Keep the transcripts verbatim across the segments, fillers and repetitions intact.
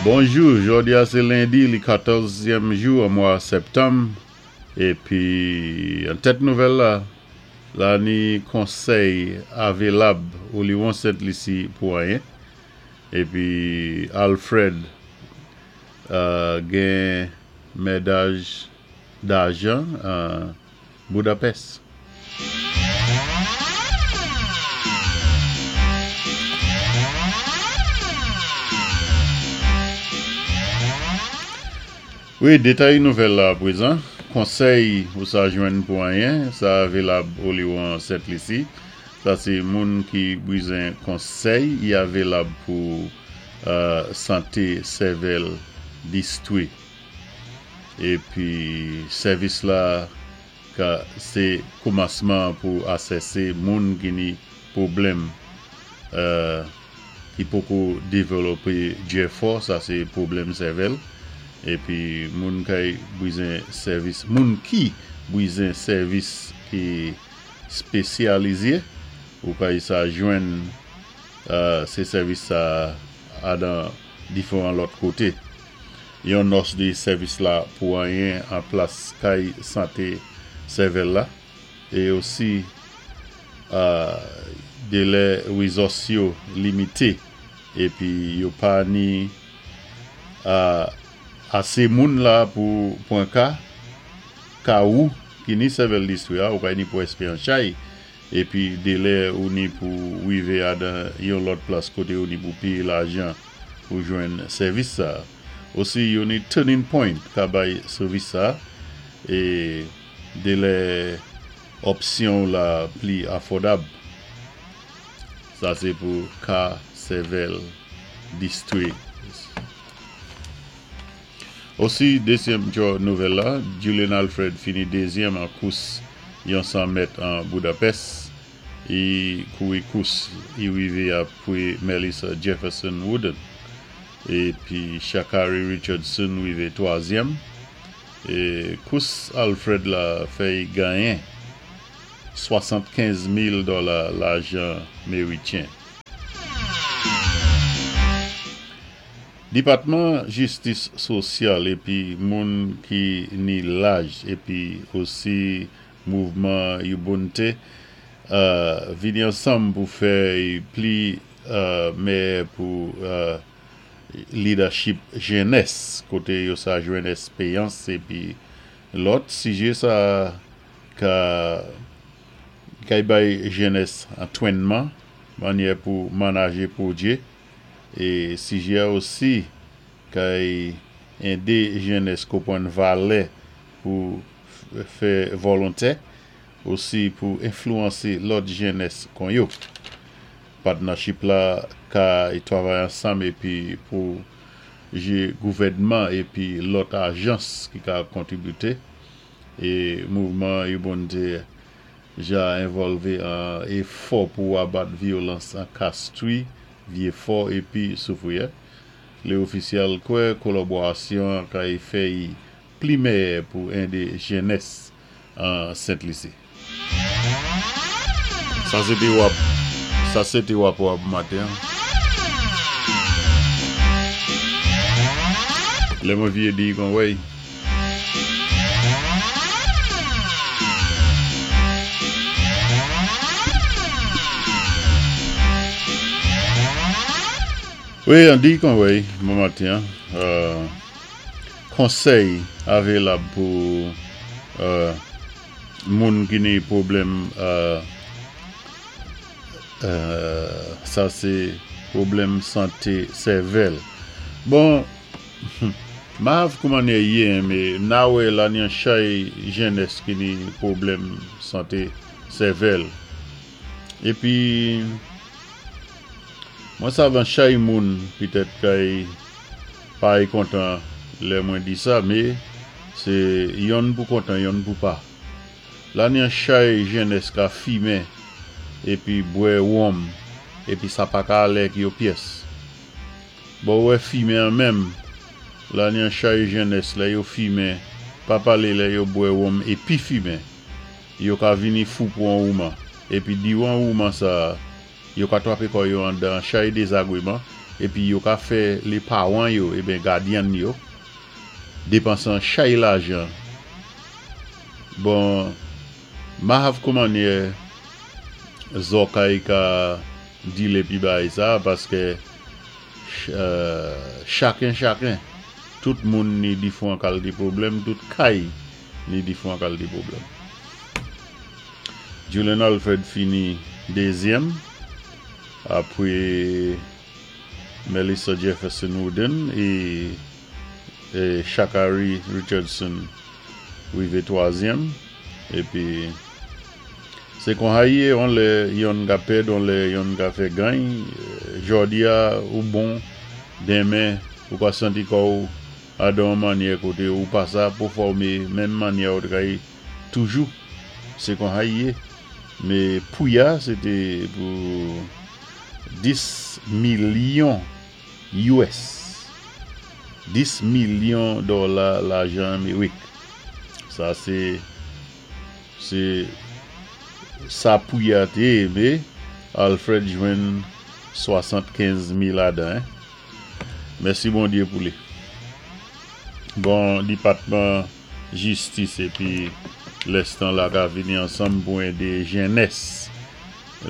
Bonjou, jòdi a sé lendi, li katòzyèm jou an mwa sèptanm, épi an tèt nouvèl la, la ni konsèy avilab oliwon Sent Lisi pou anyen, épi Alfred euh, gen méday dajan an Budapest. Wi, détay nouvèl la apwézan. Konsèy ou sa jwenn pou anyen, sa avilab oliwon Sent Lisi. Sa sé moun ki bizwen konsèy, i avilab pou euh, santé sèvèl distwi. Épi sèvis la ka sé koumansman pou asèsé moun ki ni pwoblèm euh, ki poko dévlopé djè fò, sa sé pwoblèm sèvèl. Épi moun kay bizwen sèvis, moun ki bizwen sèvis ki spésyalizé, ou kay sa jwenn euh, sé sèvis sa adan diféwan lòt koté. Yon nòs di sèvis la pou anyen an plas kay santé sèvèl la. É osi euh, délè wézous yo limité épi yo pa ni euh, asé moun la pou pwan ka ka ou ki ni sèvèl distwi a, ou kay ni pou èspé an chay épi délè ou ni pou wivé adan yon lòt plas koté ou ni pou péyé lajan pou jwenn sèvis sa. Osi yo ni Turning Point ka bay sèvis sa é délè òpsyon la pli afòdab. Sa sé pou ka sèvèl distwi. Osi, dézyèm djò nouvèl la, Julien Alfred fini dézyèm an kous yon san mèt an Budapest. I kouri kous, i wivé apwé Melissa Jefferson Wooden. Épi Sha'Carri Richardson wivé twazyèm. É kous Alfred la fè i ganyen swasannkenz mil dola lajan méwityen. Dipatman Jistis Sosyal épi moun ki ni laj épi osi mouvman Ubuntu euh, vini ansanm pou fè pli euh, meyè pou euh, leadership jenès koté yo sa jwenn èspéyans épi lòt sijé sa ka kay bay jenès antwénman mannyè pou manajé pwojé é sijé a osi kay édé jenès konpwann valè pou fè volontè osi pou enfluwansé lòt jenès kon yo. Partnership la kay twavay ansanm épi pou jé gouvèdman épi lòt ajans ki ka kontributé é mouvman Ubuntu ja envòlvé an éfò pou abat vyolans an Castries, Vieux-Fort épi Soufrière. Lé ofisyèl kwè kolaborasyon kay fè i pli meyè pou édé jenès an Sent Lisi. Sa sé té wap, sa sé té wapò a pou maten. Lè mwen vyé di kon wèy. Wi, an di kon wèy, bon maten. Euh, konsèy avilab pou euh, moun ki ni pwoblèm euh, euh, sa sé pwoblèm santé sèvèl. Bon, mav kouman yé, mé na wè la ni an chay jenès ki ni pwoblèm santé sèvèl. Épi mwen sav an chay moun pitèt kay pa kontan lè mwen di sa, mé sé yonn pou kontan, yonn pou pa. La ni an chay jenès ka fimen épi bwè wonm épi sa pa ka alé ak yo pyès. Bon wè fimen an menm, la ni an chay jenès lè yo fimen, pa palé lè yo bwè wonm épi fimen. Yo ka vini fou pou an wouman. Épi diwan wouman sa, yo ka twapé kò yo andan chay dézagwéman Épi yo ka fè lé pawan yo, ébyen gadyann yo, dépansan chay lajan. Bon, ma hav koumannyè zòkay ka dile pi bay sa, paské chaken chaken, tout moun ni difwan kalté pwoblèm, tout kay ni difwan kalté pwoblèm. Julien Alfred fini dézyèm, apwé Melissa Jefferson Wooden é, é Sha'Carri Richardson wivé twazyèm. Épi sé kon sa i yé, on lè yonn ka pèd, on lè yonn ka fè gagn. Jòdi-a ou bon, denmen ou ka santi kò-w adan mannyè koté ou pa sa pèfòmé menm mannyè ou te toujou. Sé kon sa i yé. Mé pou ya, sé té pou dis milyon U S. dis milyon dola lajan Amerik. Sa sé sé sa pou ya té, mé Alfred jwenn swasannkenz mil adan. Mèsi Bondyé pou li. Bon, dipatman jistis épi lèstan la ka vini ansanm pou édé jènès.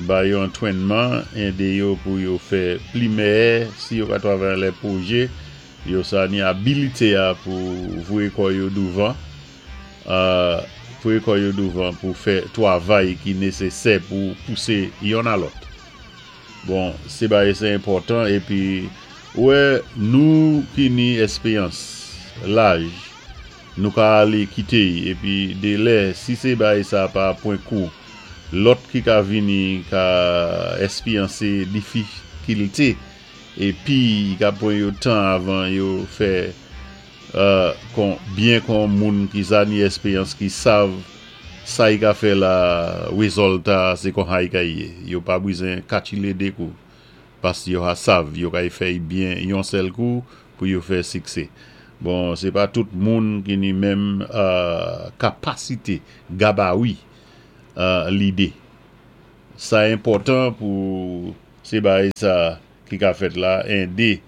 Ba yo antwénman, édé yo pou yo fè pli mèyè, si yo ka twavay lè pwojé, yo sa ni abilité a pou voyé kò yo douvan, euh, voyé kò yo douvan pou fè twavay ki nésésè pou pousé yonn a lòt. Bon, sé bagay sé enpòtan épi wè nou ki ni èspéyans, laj, nou ka alé kité épi dé lè si sé bagay sa pa pwen kou lòt ki ka vini ka èspéyansé difikilté épi ka pwan yo tan avan yo fè euh, kon, byen kon moun ki sa ni èspéyans ki sav sa i ka fè la wézòlta sé kon sa i ka yé. Yo pa bizwen katchilé dé kou. Paski yo ka sav, yo ka fè byen yon sèl kou pou yo fè siksé. Bon, sé pa tout moun ki ni menm euh, kapasité, gabari, euh, lidé. Sa enpòtan pou sé bagay sa ki ka fèt la, édé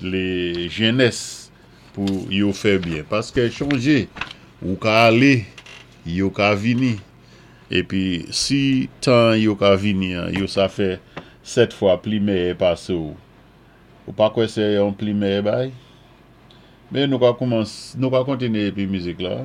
lé jènès pou yo fè byen. Paské chonjé, ou ka alé, yo ka vini. Épi si tan yo ka vini, yo sa fè sèt fwa pli mèyè pasé ou. Ou pa kwè sé yon pli mèyè bay? Mé nou ka koumansé, nou ka kontinyé épi mizik la.